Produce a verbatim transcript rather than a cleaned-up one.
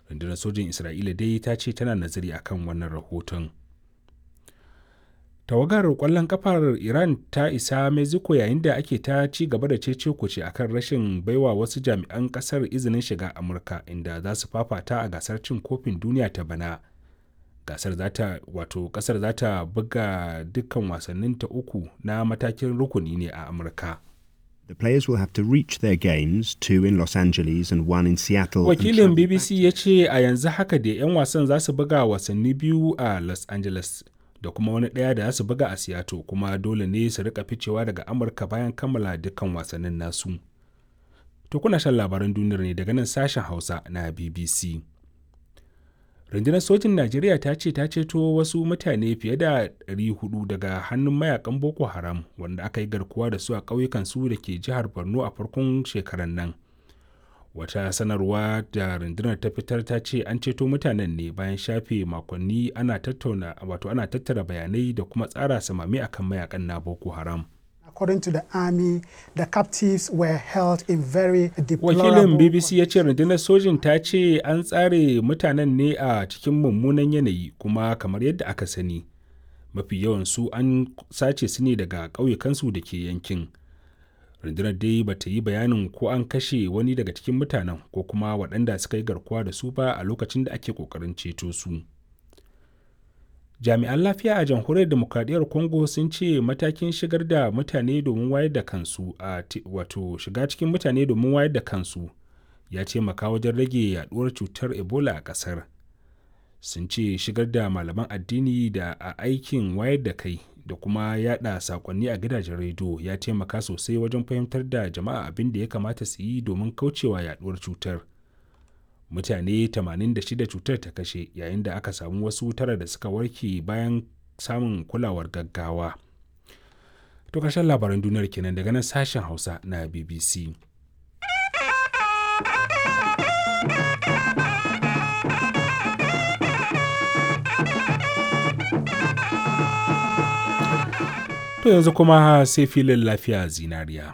Rundunar sojin Isra'ila dai ta ce tana nazari akan wannan rahoton. Tawagar kwallon kafar Iran ta isa Mexico yayin da ake ta ci gaba da cece kuce akan rashin baiwa wasu jami'an kasar izinin shiga Amurka inda za su fafata a gasar cin kofin duniya ta bana. Gasar za ta wato kasar za ta buga dukkan wasannin ta uku na matakin rukuni ne a Amurka. The players will have to reach their games, two in Los Angeles and one in Seattle. and Wakilin travel B B C ya ce a yanzu haka da 'yan wasan za su buga wasanni biyu a Los Angeles da kuma wani ɗaya da za su buga a Seattle, kuma dole ne su rika ficewa daga Amurka bayan kammala dukkan wasannin nasu. To, kuna shan labaran duniyar ne daga nan sashen Hausa na B B C. Rundunar sojin Najeriya ta ce ta ceto wasu mutane fiye da ɗari huɗu daga hannun mayakan Boko Haram wanda aka yi garkuwa da su a ƙauyukan su da ke jihar Borno a farkon shekarar nan. Wata sanarwa da rundunar ta fitar ta ce an ceto mutanen ne bayan shafe makonni ana tattauna wato ana tattara bayanai da kuma tsara samami akan mayakan na Boko Haram. According to the army, the captives were held in very Wakilin deplorable B B C ya ce rundunar sojin ta ce an tsare mutanen ne a cikin mummunan yanayi, kuma kamar yadda aka sani, mafi yawan su an sace su ne daga ƙauyukansu da ke yankin. Rundunar dai ba ta yi bayanin ko an kashe wani daga cikin mutanen ko kuma waɗanda suka yi garkuwa da su ba a lokacin da ake ƙoƙarin ceto su. Jami'an lafiya a Jamhuriyar Demokradiyyar Congo sun ce matakin shigar da mutane domin wayar da kansu a wato shiga cikin mutane domin wayar da kansu ya taimaka wajen rage yaduwar cutar Ebola a kasar. Sun ce shigar da malaman addini da a aikin wayar da kai da kuma yada sakonni a gidajen rediyo ya taimaka sosai wajen fahimtar da jama'a abin da ya kamata su yi domin kaucewa yaduwar cutar. Mutane tamanin da shida cutar ta kashe, yayin da aka samu wasu tara da suka warke bayan samun kulawar gaggawa. To, karshen labaran duniyar kenan daga nan sashen Hausa na B B C. To, yanzu kuma sai filin Lafiya Zinariya.